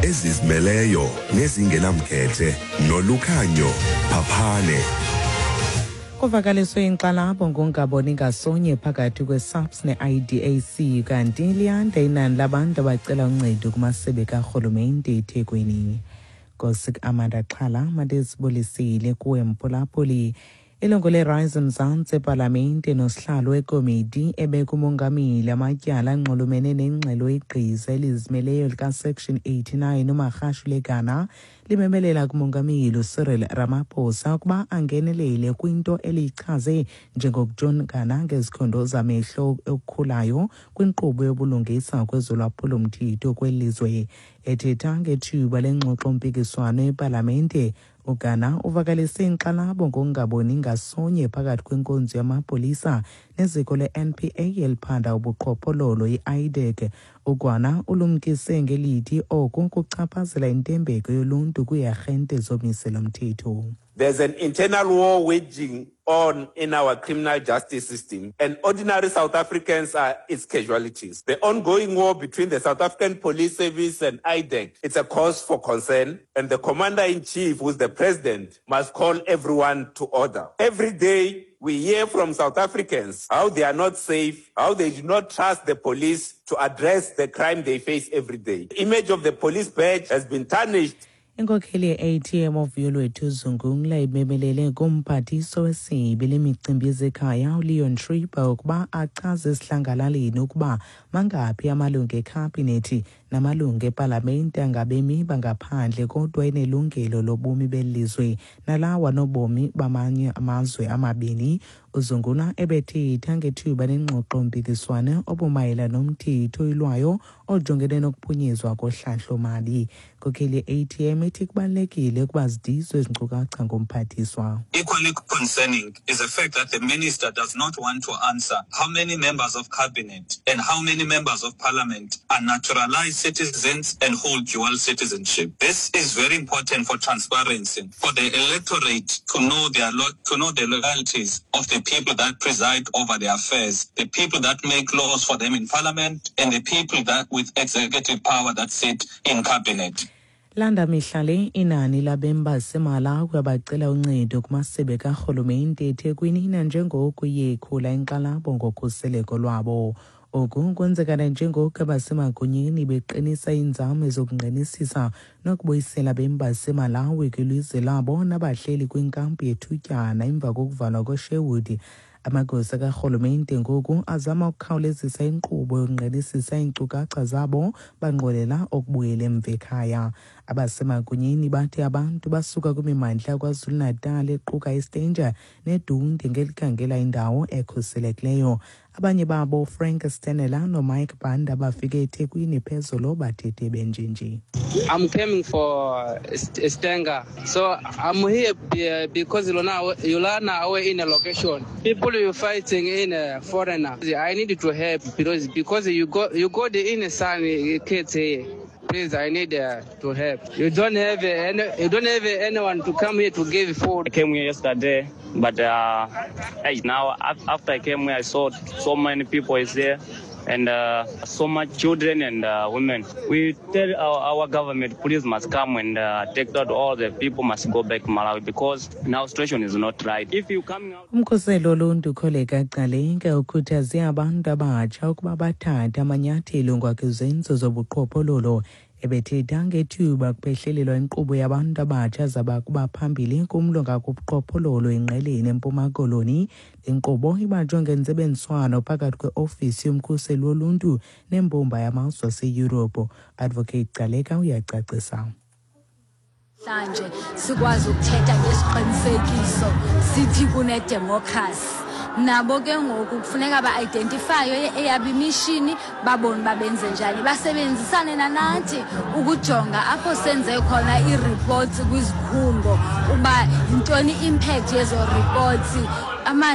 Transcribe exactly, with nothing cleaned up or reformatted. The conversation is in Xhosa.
Ezizimeleyo nezingenamkhethe noLukhanyo Phaphane. Kuvakaliswe inkxalabo ngongaboni ngasonye phakathi kwe-SAPS ne-I D A C, kanti liyanda inani labantu abacela uncedo kumasebe karhulumente eThekwini. Nkosi Amanda Xhala, mandizibulisile kuwe mphulaphuli. Ilungu le-Rise Mzantsi epalamente nosihlalo wekomiti ebeka umongameli amatyala anxulumene nengxelo yegqiza elizimeleyo likaSection eighty-nine, uMagashule Gana, limemelela kumongameli uCyril Ramaphosa ukuba angenelele kwinto eliyichaze njengokujongana ngezikhondo zamehlo okukhulayo kwinkqubo yobulungisa kwezolwaphulomthetho kweli lizwe. Ethetha ngethuba lengxoxo-mpikiswano epalamente, uGana uvakalise inkxalabo ngokungaboni ngasonye phakathi kwenkonzo yamapolisa neziko le-N P A eliphanda ubuqhophololo, i-IDAC. Ugana ulumkise ngelithi oku kuchaphazela intembeko yoluntu kwiiarhente zomiselo-mthetho. There's an internal war waging on in our criminal justice system, and ordinary South Africans are its casualties. The ongoing war between the South African Police Service and IDAC, it's a cause for concern, and the commander-in-chief, who's the president, must call everyone to order. Every day, we hear from South Africans how they are not safe, how they do not trust the police to address the crime they face every day. The image of the police badge has been tarnished. Inkokheli ye-A T M oVuyolwethu Zungula imemelele kumphathiswa wesebe lemicimbi yezekhaya uLeon Schreiber ukuba achaze esihlangalaleni ukuba mangaphi amalungu ekhabhinethi namalungu epalamente angabemi bangaphandle kodwa enelungelo lobomi belizwe nalawa nobomi bamanye amazwe amabini. Uzungula ebethetha ngethuba lengxoxo-mpikiswano obumayela nomthetho oyilwayo ojongene nokuphunyezwa kohlahlo-mali. Inkokheli ye-A T M ithi kubalulekile ukuba zidizwe ezi nkcukacha ngumphathiswa. Equally concerning is the fact that the minister does not want to answer how many members of cabinet and how many members of parliament are naturalized citizens and hold dual citizenship. This is very important for transparency, for the electorate to know their lo- to know the loyalties of the people that preside over their affairs, the people that make laws for them in parliament, and the people that with executive power that sit in cabinet. Landa mihla le inani labemi baseMalawi abacela uncedo kumasebe karhulumente eThekwini nanjengoko iye ikhula inkxalabo ngokhuseleko lwabo. Oku kwenzeka nanjengoko abasemagunyeni beqinisa iinzame zokungqinisisa nokubuyisela abemi baseMalawi kwilizwe labo nabahleli kwinkampu yethutyana emva kokuvalwa kweSherwood. Amagosa karhulumente ngoku azama ukukhawulezisa inkqubo yokungqinisisa iinkcukacha zabo banqwenela ukubuyela emva ekhaya. Abasemagunyeni bathi abantu basuka kwimimandla yaKwaZulu-Natal equka iStanger neDundee ngelikhangela indawo ekhuselekileyo. Abanye babo, Frank Stenela noMike Banda, bafike eThekwini phezolo bathethe benjenje. I'm coming for St- Stanger. So I'm here be- because you learn away in a location. People you fighting in a foreigner. I need to help because because you go you go the in son kids here. Please, I need uh, to help. You don't have any, you don't have anyone to come here to give food. I came here yesterday, but uh, hey, now after I came here, I saw so many people is there and uh, so much children and uh, women. We tell our, our government, police must come and uh, take out all the people must go back to Malawi because now situation is not right. If you coming out. Umkhuseli woluntu uKholeka Gcaleka ukhuthaze abantu abatsha ukuba bathathe amanyathelo ngakwizenzo zobuqhophololo. Ebethetha ngethuba kuphehlelelwa inkqubo yabantu abatsha zabakuba phambili kumlo ngakubuqhophololo eNgqeleni, eMpuma Koloni. Le nkqubo ibanjwe ngentsebenziswano phakathi kweofisi yomkhuseli woluntu nembumba yamazwe aseYurophu. Advocate Gcaleka uyacacisa. Namhlanje sikwazi ukuthetha ngesiqinisekiso sithi kunedemokhrasi. Nabo ke ngoku kufuneka ba-identifye eyabo imishini, babone uba benze njani, basebenzisane nanathi ukujonga apho senze khona ii-reports kwizikhungo uba yintoni i-impact yezo reports, amanzi.